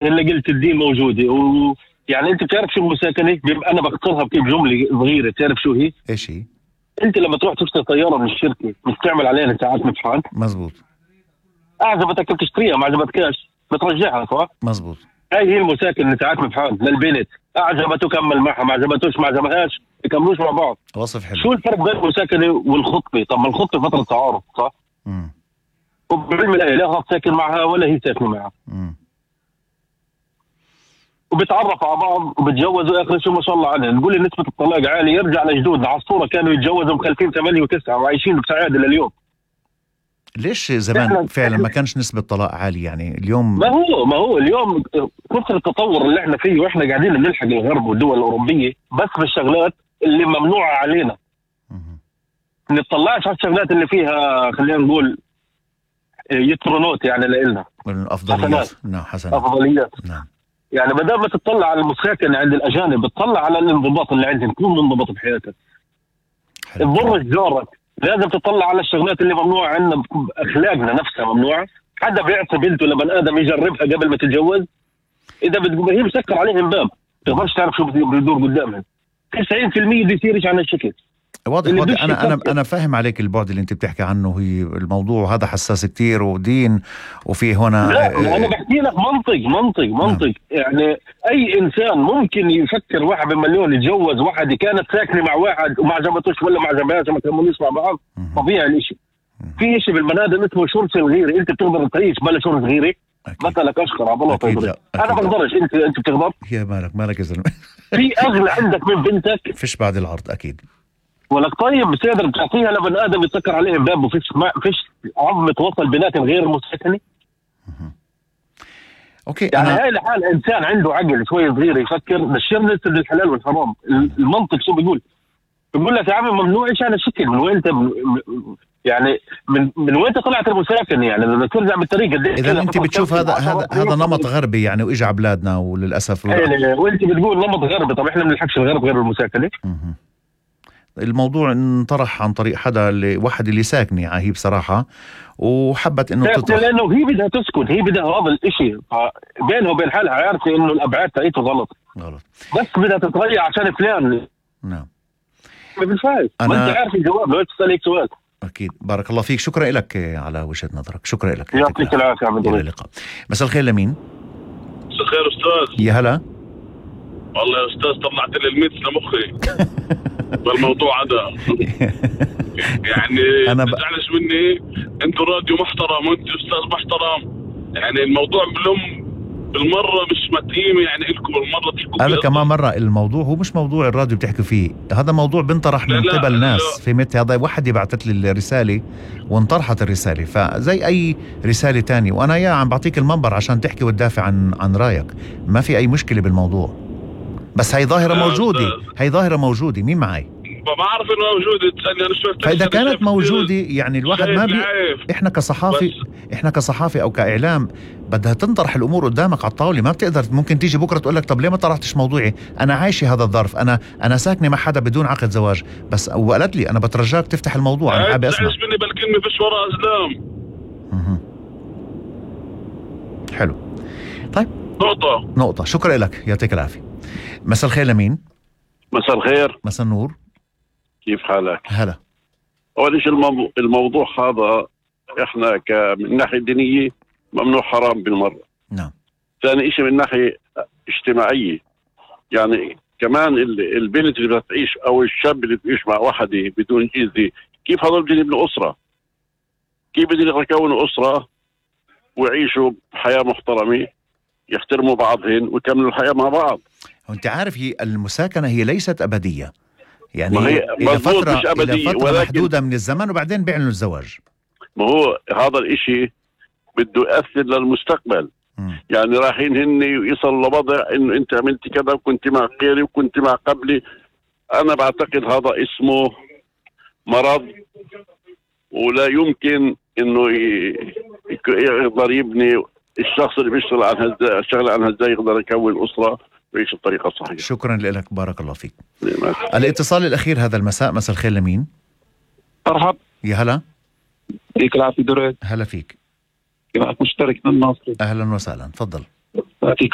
اللي قلت الدين موجوده يعني انت بتعرف شو المساكنه؟ انا بختصرها بكيف جمله صغيره، تعرف شو هي؟ ايش هي؟ انت لما تروح تشتري طياره من الشركه بتعمل عليها ساعات مبحث. مزبوط. اعجبتك بتشتريها، ما عجبتكش بترجعها، صح؟ مزبوط. هاي هي المساكن ساعات مبحث للبنت، اعجبته كمل معها، ما عجبتوش ما عجبهاش يكملوش مع بعض. وصف حلو. شو الفرق بين المساكنه والخطبه؟ طب ما الخطبه فتره تعارف، صح؟ وبعلم الآية لا هو ساكن معها ولا هي ساكنه معها. وبتعرفوا على بعض وبتجوزوا، اخر شيء ما شاء الله عليه نقول نسبه الطلاق عاليه. يرجع لجدودنا على الصوره كانوا يتجوزوا مخلفين 8 و9 وعايشين بسعاده لليوم. ليش زمان فعلا ما كانش نسبه طلاق عاليه؟ يعني اليوم ما هو اليوم كثر التطور اللي احنا فيه، واحنا قاعدين بنلحق الغرب والدول الاوروبيه بس بالشغلات اللي ممنوعه علينا. ما نطلعش على الشغلات اللي فيها خلينا نقول يترونوت يعني لنا افضليات. نعم حسنا. افضليات. نعم. يعني بدل ما تطلع على المساكن عند الاجانب بتطلع على الانضباط اللي عندهم، كون منضبط بحياتك. تضرش جارك، لازم تطلع على الشغلات اللي ممنوعه عندنا، اخلاقنا نفسها ممنوعه. حدا بيعطي بنته لبن ادم يجربها قبل ما تتجوز؟ اذا هي مسكر عليهم باب، تقدرش تعرف شو بيدور قدامها. 90% بيصيرش عن الشكل. واضح. انا فاهم عليك البعد اللي انت بتحكي عنه. هي الموضوع هذا حساس كتير ودين وفيه هنا. لا انا بحكي لك منطق. يعني اي انسان ممكن يفكر واحد بمليون يتجوز واحده كانت ساكنه مع واحد وما عجبتوش ولا ما عجبهاش ما كملوش مع بعض. طبيعي الاشي. في شيء بالبني اسمه شرس الغيره. انت بتقدر تعيش بلا شرس غيره؟ مثلك اشكر على الله طيب. انا بقدرش. انت بتقدر؟ يا مالك يا زلمه. في اغلى عندك من بنتك فيش بعد العرض اكيد. ولك طيب بتقدر بتعطيها لبن ادم يتسكر عليهم باب وفيش عظمه وصل بنات غير مسكنه. اوكي. يعني هاي لحال انسان عنده عقل شوي صغير يفكر بشرنا الحلال والحرام. المنطق شو بيقول لك يا عمي ممنوع ايش على شكل. من وين انت يعني من وين طلعت المساكن؟ يعني بدك ترجع بالطريقه دي. اذا انت بتشوف هذا نمط غربي يعني واجى على بلادنا وللاسف. وانت بتقول نمط غربي، طب احنا ما بنلحقش الغرب غير المساكنه. الموضوع انطرح عن طريق واحد اللي ساكنه هي بصراحه وحبت انه تطرح، لانه هي بدها تسكن، هي بدها هذا الاشي بينها وبين حالها عارفه انه الابعاد تاعته غلط بس بدها تتغير عشان فلان. نعم ما بنفعش. ما انت عارف الجواب، لو تسالك سؤال. اكيد. بارك الله فيك، شكرا لك على وجهة نظرك. شكرا لك. يعطيك العافيه. الى اللقاء. مساء الخير. لمين؟ مساء الخير استاذ. يا هلا. والله يا استاذ طلعت لي الميت لمخي بالموضوع هذا. يعني ما تزعلش مني، انتوا راديو محترم وانتوا استاذ محترم. يعني الموضوع بالمره مش متقيم يعني لكم بالمره تحكوا. هذا كمان مره الموضوع هو مش موضوع الراديو بتحكوا فيه، هذا موضوع بنطرح من قبل ناس. فهمت؟ هذا واحد بعثت لي الرساله وانطرحت الرساله، فزي اي رساله تانية وانا عم بعطيك المنبر عشان تحكي وتدافع عن رايك. ما في اي مشكله بالموضوع، بس هي ظاهره موجوده. مين معي؟ ما بعرف انه موجوده. تسالني انا شو. فاذا كانت موجوده يعني الواحد ما احنا كصحافي او كاعلام بدها تنطرح الامور قدامك على الطاوله. ما بتقدر ممكن تيجي بكره تقول لك طب ليه ما طرحتش موضوعي؟ انا عايشه هذا الظرف، انا ساكنه مع حدا بدون عقد زواج بس، وقالت لي انا بترجاك تفتح الموضوع. انا حابب اسمع. مني بالكلمه فيش وراء اسلام. حلو. طيب نقطه. شكرا لك، يعطيك العافيه. مساء الخير. لمين؟ مساء الخير. مساء النور. كيف حالك؟ هلا. أول شيء الموضوع هذا إحنا من ناحية دينية ممنوع حرام بالمرة. نعم. ثاني شيء من ناحية اجتماعية، يعني كمان البنت اللي بتعيش أو الشاب اللي بيعيش مع واحدة بدون جيزة، كيف هذول بدهم يبنوا أسرة؟ كيف بدهم يكونوا أسرة ويعيشوا بحياة محترمة، يحترموا بعضهم ويكملوا الحياة مع بعض؟ وانت عارف هي المساكنة هي ليست أبدية، يعني إلى فترة محدودة من الزمن وبعدين بيعلنوا الزواج. ما هو هذا الاشي بده يأثر للمستقبل. يعني رايحين هن يصلوا لوضع انه انت عملت كذا وكنت مع غيري وكنت مع قبلي. انا بعتقد هذا اسمه مرض، ولا يمكن انه يقدر يبني الشخص اللي بيشتغل عن ازاي يقدر يكون اسره ويعيش الطريقه الصحيحه. شكرا لك، بارك الله فيك. الاتصال الاخير هذا المساء. مساء الخير. لمين؟ مرحب. يا هلا. يعطيك العافيه دريد. هلا فيك. كيفك؟ مشترك من الناصري. اهلا وسهلا، تفضل. يعطيك